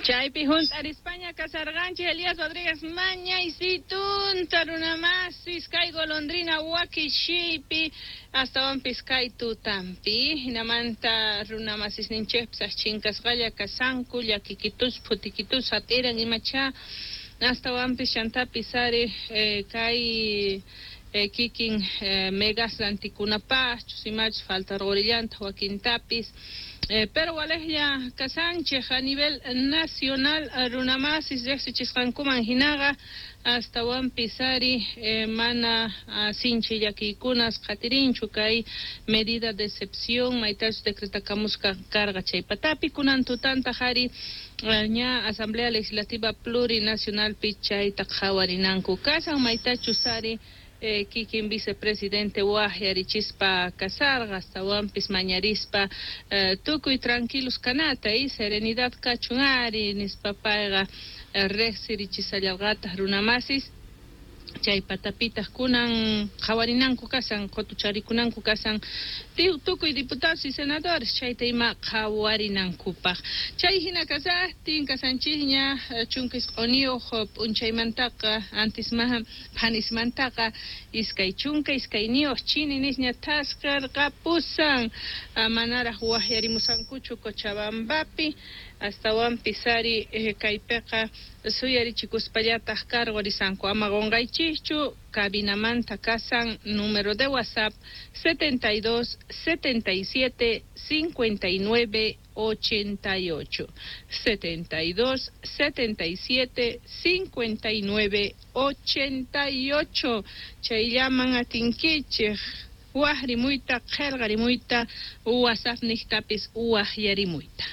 Chaypi junt'arispaña kasarqanchik Elías Rodríguez mañaysitunta runamasis kay golondrina wakishiypi astawanpis kay tutampi hinamanta runamasisninchikpis chinkasqalla kasanku llakikitus phutikitus hap'iran imacha astawanpis chantapis ari kay kikin megas rantikunapaqchus imachus faltarqurillantaq wakintapis pero walejlla kasanchik a nivel nacional runamasis riqsichisqankuman hinaqa astawanpis ari mana sinchi llakiykunas qhatirinchu kay medida de excepción maytachus decretakamusqa karqa chay patapi kunan tutantaq ari ña Asamblea Legislativa Plurinacionalpi chayta qhawarinanku kasan maytachus ari kikin vicepresidente waqyarichispa kasarqa astawanpis mañarispa tukuy tranquilos kanata y serenidad kachun ari nispa payqa riqsirichisallarqataq runamasis chay patapitaq kunan qhawarinanku kasan qutucharikunanku kasan tukuy diputados y senadores chayta ima qhawarinankupaq chay hina kasaqtin kasanchikña 19 p'unchaymantaqa antisma phanismantaqa 22 chini nisña thaskarqapusan manaraq waqyarimusankuchu Cochabambapi astawanpis ari kaypiqa suyarichikuspallataq karqurisanku ama qunqaychikchu cabinamanta kasan número de WhatsApp 72 77 59 88 72 77 59 88 chayllaman atinkichik waqrimuyta qillqarimuyta WhatsApp niqtapis waqyarimuyta.